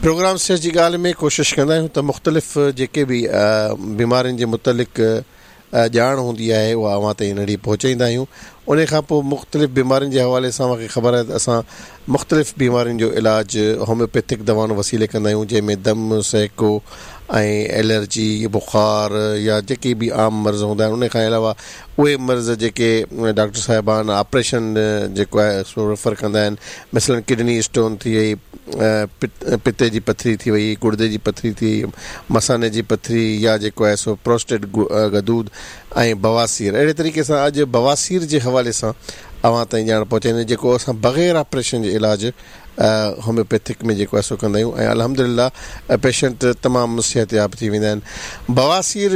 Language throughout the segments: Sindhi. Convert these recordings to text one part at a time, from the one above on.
پروگرام صحت جي ڳالهه ۾ ڪوشش ڪندا آهيون ته مختلف جيڪي به بيمارين جي متعلق ڄاڻ هوندي آهي اها اوهان تائين ننڍي پهچائيندا آهيون. انهي کان پوء مختلف بيمارين جي حوالي سان اوهان کي خبر آهي ته اسان مختلف بيمارين جو علاج هوميوپيٿڪ دوائن وسيلي ڪندا آهيون جنهن ۾ دم، سهڪو ۽ الرجي، بخار يا جيڪي به عام مرض هوندا آهن انهي کان علاوه اهي مرض جيڪي ڊاڪٽر صاحبان آپريشن جيڪو آهي سو ريفر ڪندا آهن مثلاً ڪڊني اسٽون ٿي وئي، پتي جي پٿري ٿي وئي، گڙدي جي پٿري ٿي وئي، مثاني جي پٿري يا جيڪو آهي سو پروسٽيٽ غدود ۽ بواسير اهڙي طريقي سان اڄ بواسير جي حوالي سان اوهان تائين ڄاڻ پهچائيندي جيڪو اسان بغير آپريشن جي علاج هوميوپيٿڪ ۾ جيڪو آهي سو ڪندا آهيون ۽ الحمدلله پيشنٽ تمام صحتياب ٿي ويندا آهن بواسير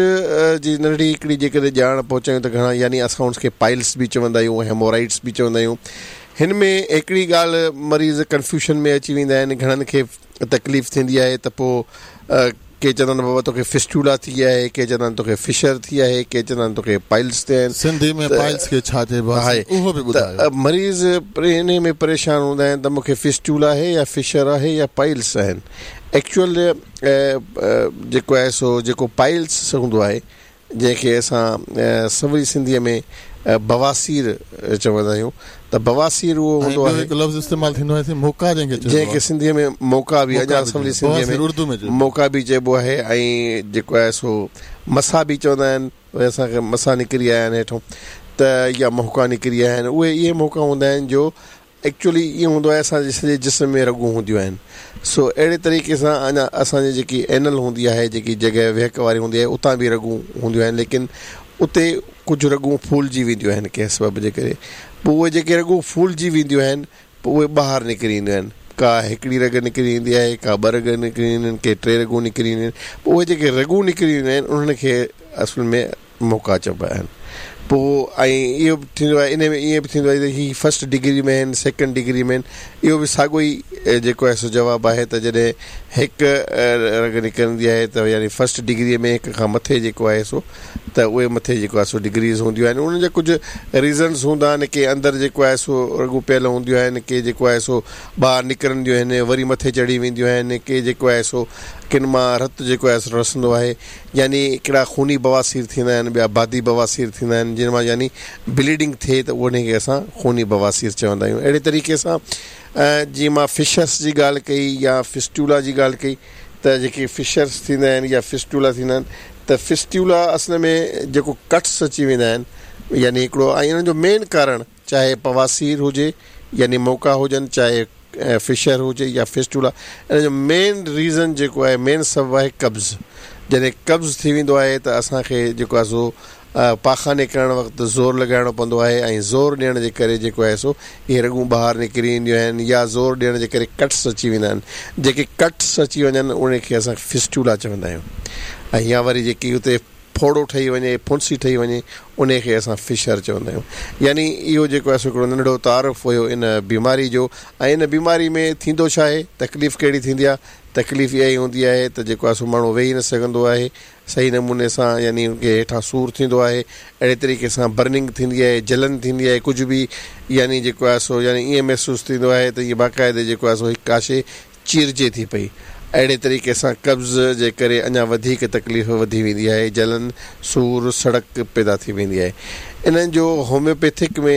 جي ننڍڙي هڪڙي جيڪڏهن ڄاڻ پهچايون ته گهڻا يعني اسان ان کي پائلس به چوندا آهيون هيمورائڊس به چوندا آهيون هن ۾ هڪڙي ڳالهه مريض ڪنفيوشن ۾ اچي ويندا آهن گهڻن کي تڪليف ٿيندي آهي ته پوء ڪي چوندا آهن بابا توکي فسٽولا ٿي آهي، ڪي چوندا آهن توکي فشر ٿي آهي، ڪي چوندا آهن توکي پائلس ٿيا آهن. سنڌي ۾ پائلس کي ڇا چئبو آهي اهو به ٻڌايو. ته مريض انهي ۾ پريشان هوندا آهن ته مون کي فسٽولا آهي يا فشر آهي يا پائلس آهن. ايڪچوئل جيڪو آهي سو جيڪو پائلس هوندو آهي جنهن کي اسان سولي سنڌيء ۾ بواسير چوندا آهيون ته بواسير اهو هوندو آهي. ۽ ٻيو هڪ لفظ استعمال ٿيندو آهي موڪا جنهن کي چئبو آهي. جنهن کي سنڌيء ۾ موڪا به اڃا سولي سنڌيء ۾ موڪا به چئبو آهي ۽ جيڪو آهي سو مسا به چوندا آهن اسان کي مسا نڪري آيا آهن هيٺون ته يا موڪا نڪري آيا آهن اهي اهي موڪا هوندا آهن جو ايڪچوئلي ائين هوندو آهي اسان جي سڄي جسم ۾ رڳون هونديون آهن سو اهڙي طريقي سان اڃا اسان جي جيڪي اينل هوندي آهي جيڪي جڳهه ويهڪ واري هوندي آهي اتان به رڳون هونديون آهن ليڪن اتي ڪجهه رڳون ڦولجي وينديون آهن ڪنهن سبب جي ڪري پوء اهي جيڪي رڳون ڦولجي وينديون آهن پوء اهي ٻاهر نڪري اينديون آهن ڪا هڪڙي رڳ نڪري ايندي آهي ڪا ٻه رڳ نڪري اينديون آهن ڪي ٽي رڳون نڪري اينديون آهن پوء اهي جيڪي رڳون نڪري اينديون آهن انهن کي اصل ۾ موڪا چئبا آهن. پوء ۽ اهو به ٿيندو آهي انهي ۾ ائين به ٿيندو آهي ته هي فرسٽ ڊگري ۾ آهن سيڪنڊ ڊگري ۾ آهن اهو به ساڳيو ئي جيڪو آهي سو جواب آهي ته جڏهن هڪ رڳ نڪرندي آهي ته يعني فرسٽ ڊگري ۾ هڪ کان مٿي جيڪو آهي سو ته اهي مٿي جيڪو آهي سو ڊگريز هونديون آهن انهن جا ڪجهه ريزنس هوندا آهن ڪي اندر جيڪو آهي سو رڳون پيل هونديون آهن ڪي جيڪو آهي سو ٻاهر نڪرنديون آهن وري مٿي چڙهي وينديون آهن ڪي جيڪو آهي سو ڪن مان رت جيڪو آهي سو رسندو آهي يعني هڪڙا خوني بواسير ٿيندا آهن ٻيا بادي بواسير ٿيندا آهن جن مان يعني بليڊنگ ٿئي ته انهي کي اسان خوني بواسير چوندا آهيون اهڙي طريقي سان جيئن مان فشرس جي ڳالهه ڪئي يا فسٽولا جي ڳالهه ڪئي ته جيڪي فشرس ٿيندا آهن يا فسٽولا ٿيندا آهن ته فسٽولا اصل ۾ جيڪو ڪٽس اچي ويندا آهن يعني هڪڙو ۽ انهن جو مين ڪارڻ چاهي بواسير هجي يعني موڪا هجن چاهي فشر هجي يا فسٽولا ان جو مين ريزن جيڪو آهي مين سبب آهي قبض جڏهن قبض ٿي ويندو آهي ته اسان کي جيڪو آهي سو پاخاني ڪرڻ وقت زور لڳائڻو پوندو آهي ۽ زور ڏيڻ جي ڪري جيڪو آهي سو اهي رڳون ٻاهر نڪري اينديون آهن يا زور ڏيڻ جي ڪري ڪٽس اچي ويندا آهن جيڪي ڪٽس اچي وڃن ان کي اسان فسٽولا چوندا آهيون ۽ يا وري جيڪي اتي ڦوڙو ٺهي وڃي، ڦنسي ٺهي وڃي، انهي کي اسان فشر چوندا آهيون. يعني اهو جيڪو آهي سو هڪڙو ننڍڙو تعارف هيو ان بيماري جو ۽ ان بيماري ۾ ٿيندو ڇا آهي، تڪليف ڪهڙي ٿيندي آهي، تڪليف اها ئي هوندي آهي ته جيڪو آهي سو ماڻهو ويهي نه سگهندو آهي صحيح نموني سان يعني ان کي هيٺان سور ٿيندو آهي، اهڙي طريقي سان برننگ ٿيندي آهي، جلن ٿيندي آهي، ڪجهه به يعني جيڪو آهي سو يعني ائين محسوس ٿيندو آهي ته ائين باقاعدي جيڪو آهي سو هڪ ڪا شيء چيرجي ٿي پئي. اهڙي طريقي سان قبض جي ڪري اڃا وڌيڪ تڪليف وڌي ويندي آهي، جلن، سور، سڙڪ پيدا ٿي ويندي آهي. انهن جو هوميوپيٿڪ ۾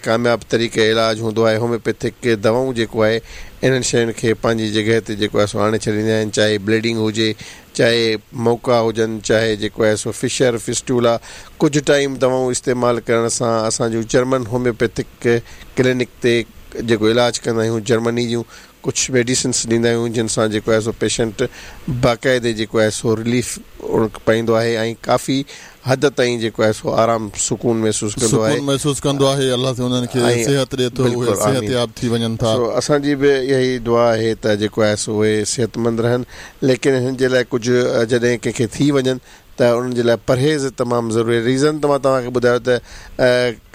ڪامياب طريقه علاج هوندو آهي. هوميوپيٿڪ دوائون جيڪو آهي انهن شين کي پنهنجي جڳهه تي جيڪو آهي سو آڻي ڇڏينديون آهن چاهي بليڊنگ هجي، چاهي موڪا هجن، چاهي جيڪو آهي سو فشر، فسٽولا، ڪجهه ٽائيم دوائون استعمال ڪرڻ سان اسان جون جرمن هوميوپيٿڪ ڪلينڪ تي جيڪو علاج ڪندا آهيون جرمني جون ڪجهه ميڊيسنس ڏيندا آهيون جن سان جيڪو آهي سو پيشنٽ باقاعدي جيڪو آهي سو رليف پائيندو آهي ۽ ڪافي حد تائين جيڪو آهي سو آرام سڪون محسوس ڪندو آهي. سڪون محسوس ڪندو آهي الله سائين انهن کي صحت ڏي ٿو اهي صحتياب ٿي وڃن ٿا. سو اسان جي به اها ئي دعا آهي ته جيڪو آهي سو اهي صحتمند رهن ليڪن هن جي لاء ڪجهه جڏهن ڪنهن کي ٿي وڃن ته انهن جي لاء پرهيز تمام ضروري آهي ريزن ته مان توهان کي ٻڌايو ته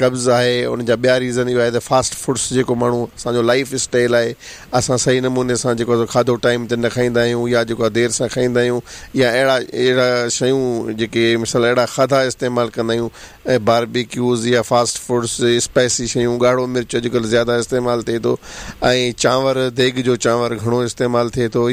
قبض آهي ان جا ٻيا ريزن اهو آهي ته فاسٽ فوڊس جيڪو ماڻهو اسان جو لائف اسٽائل آهي اسان صحيح نموني سان جيڪو آهي کاڌو ٽائيم تي نه کائيندا آهيون يا جيڪو آهي دير سان کائيندا آهيون يا اهڙا اهڙا شيون جيڪي مثال اهڙا کاڌا استعمال ڪندا آهيون باربي ڪيوز يا فاسٽ فوڊس اسپائسي شيون ڳاڙهو مرچ اڄڪلهه زياده استعمال ٿئي ٿو ۽ چانور ديڳ جو چانور گهڻو استعمال ٿئي ٿو.